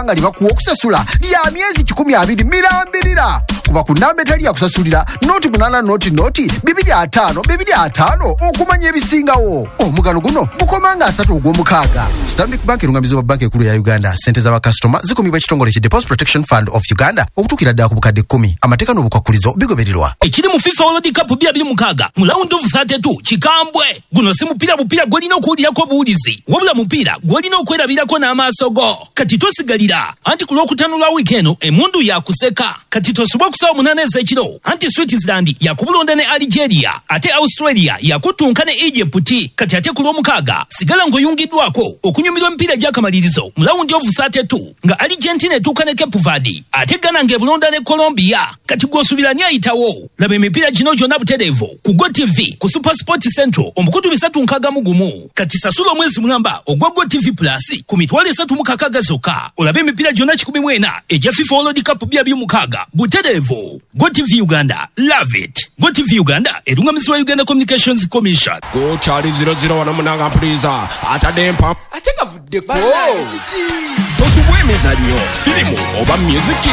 Nga libakuwa okusasula lya myezi 120 mirambirira. Kuba ku namba etali yakusasulira 0 8 0 0 2 5 2 5 okumanya ebisingawo. Omugano guno gukoma nga 30 ogw'omukaaga. Stanbic Bank erungamizibwa Banka Ekulu ya Uganda. Sente z'abakasitoma zikumibwa ekitongole ki Deposit Protection Fund of Uganda okutuukira ddala ku bukadde 10. Amateeka n'obukwakulizo bigobererwa. Ekiri mu FIFA World Cup 2026 mu round of 32 kikambwe. Guno si mupiira bupiira gw'olina okuwulirako obuwulizi, wabula mupiira gw'olina okwerabirako n'amaaso go. Kati tosigalira, anti ku Lwokutaano lwa wiiki eno emundu yakuseka. Kati tosubwa ku ssaawa 8 ez'ekiro, anti Switzerland yakubulonda ne Algeria, ate Australia yakuttunka ne Egypt. Kati ate ku Lwomukaaga sigala ng'oyungiddwako okunyumirwa emipiira egy'akamalirizo mu round of 32, nga Argentina etuuka ne Cape Verde, ate Ghana ng'ebulonda ne Colombia. Kati gw'osuubira ani ayitawo? Laba emipiira gino gyonna butereevu ku GOtv ku Super Sport Central, omukutu 361. Kati sasula omwezi mulamba ogwa GOtv Plus ku 360,000 zokka, olabe emipiira gyonna 140 egya FIFA World Cup 2026 butereevu. GOtv Uganda, love it. GOtv Uganda erungamizibwa Uganda Communications Commission. Gukyali 00 wano munanga, mpuliza atadde empa Ate gavuddeko. Tosubwa emizannyo, firimu oba myuziki.